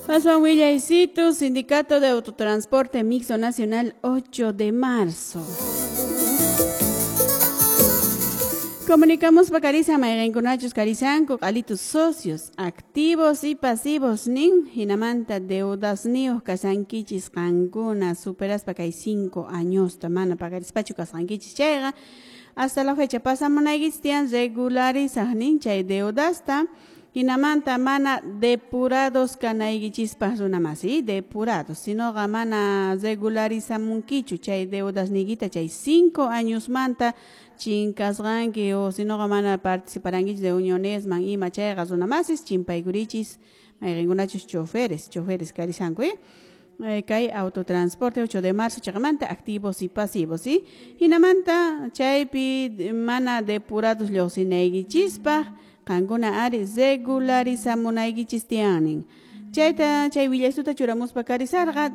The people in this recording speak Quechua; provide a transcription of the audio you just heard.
Aswan willaysitu, Sindicato de Autotransporte Mixto Nacional, 8 de marzo. Comunicamos pakarisa mayqinkunachus karisanku q'alitus socios activos y pasivos nin hinamanta deudasniyuq kasankichis qankuna superaspa kay 5 añosta mana pakarispachu kasqankichis chayqa hasta la fecha pasamunaykichis tiyan regularizaq nin chay deudasta hinamanta mana depurados kanaykichispaq runamasi depurados sinoqa mana regularizamunkichu chay deudasniykita chay 5 añosmanta chinkasqanki o sinoqa mana participarankichis de unionesman ima chayqa runamasis chimpaykurichis mayqinkunachus choferes karisanku kay autotransporte 8 de marzo chaqamanta activos y pasivos, ¿sí? Hinamanta chaypi mana depurados lluqsinaykichispaq qankuna ari regularizamunaykichis tiyanin. Chayta chay willaysuta churamuspa karisarqa.